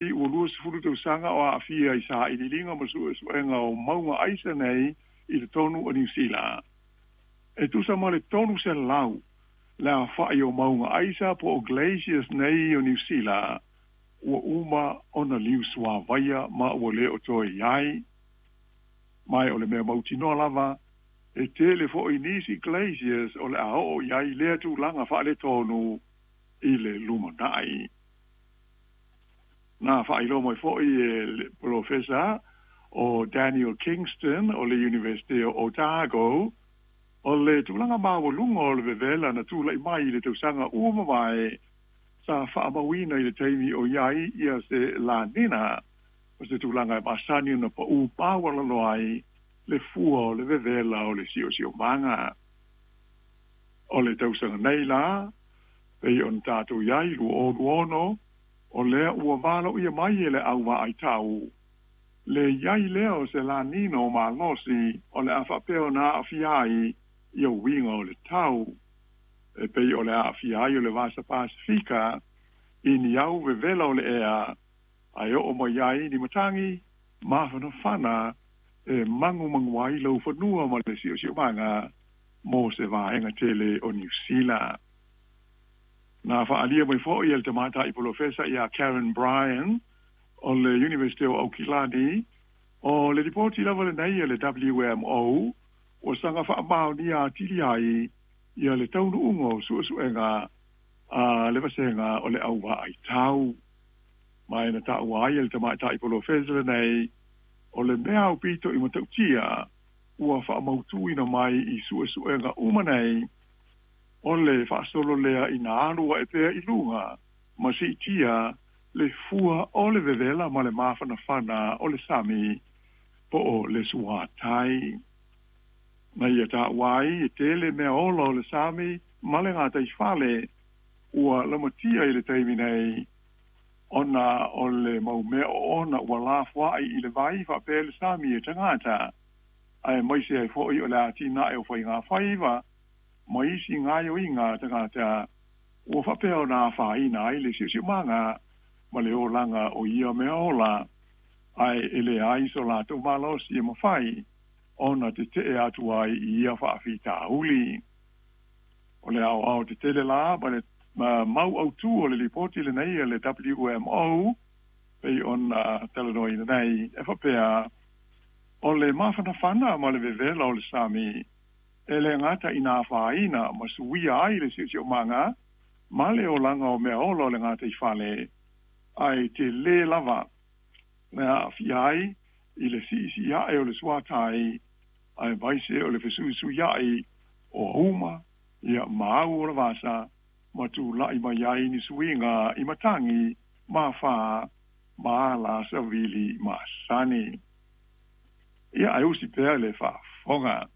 Ua 20 tausaga o aafia i sailiiliga ma suesuega o mauga aisa nei i totonu o Niu Sila. E tusa ma le 300 le aofai o mauga aisa po o glaciers nei o Niu Sila ua uma ona liusuavaia ma ua le o toe i ai. Ma o le mea mautinoa lava, e tele foi nisi glaciers o le a oo i ai lea tulaga faaletonu i le lumanai. Na faailoa mai foi e le Polofesa o Daniel Kingston o le Iunivesite o Otago, o le tulaga maualuga o le vevela na tulai mai i le tausaga ua mavae sa faamauina i le taimi o i ai ia se La Nina, o se tulaga e masani ona pau maualalo ai le fua o le vevela o le siosiomaga. O le tausaga nei la, pei ona tatou i ai 2026, o lea ua valoia mai e le au vaai tau le i ai lea o se La Nina o malosi o le a faapea ona aafia ai ia uiga o le tau, e pei o le aafia ai o le Vasa Pasefika i ni au vevela o le ea, ae oo mai ai ni matagi mafanafana e magumagu ai laufanua ma le siosiomaga mo se vaega tele o Niu Sila. Na faaalia mai foi e le tamaitai polofesa ia Karen Bryan o le Iunivesite o Aukilani, o le lipoti lava lenei a le WMO ua saga faamaonia atili ai ia le taunuuga o suesuega a le vasega o le au vaai tau. Ma e na taua ai e le tamaitai polofesa lenei, o le mea aupito i matautia ua faamautuina mai i suesuega uma nei, o le faasolo lea ina alu ae pea i luga ma siitia le fua o le vevela ma le mafanafana o le sami po o le suatai. Na ia taua ai e tele mea ola o le sami ma le gataifale ua lamatia i le taimi nei ona o le mau mea oona ua lafoai i le vai faapea le sami e tagata, aemaise ai foi o le atinae o faigafaiva ma isi gaoioiga a tagata ua faapea ona afaina ai le siosiomaga ma le olaga o ia mea ola, ae e leai so latou malosi e mafai ona tetee atu ai i ia faafitauli. O le aoao tetele la ma le mau autu o le lipoti lenei a le WMO pei ona talanoaina nei, e faapea, o le mafanafana ma le vevela o le sami e le gata ina afaina ma suia ai le siosiomaga ma le olaga o mea ola o le gataifale, ae tele lava le aafia ai i le siisii ae o le suatai, aemaise o le fesuisuiai o auma ia ma au o le vasa, ma tulai mai ai ni suiga i matagi ma afa ma ala savili masani. Ia, ae usi pea le faafofoga.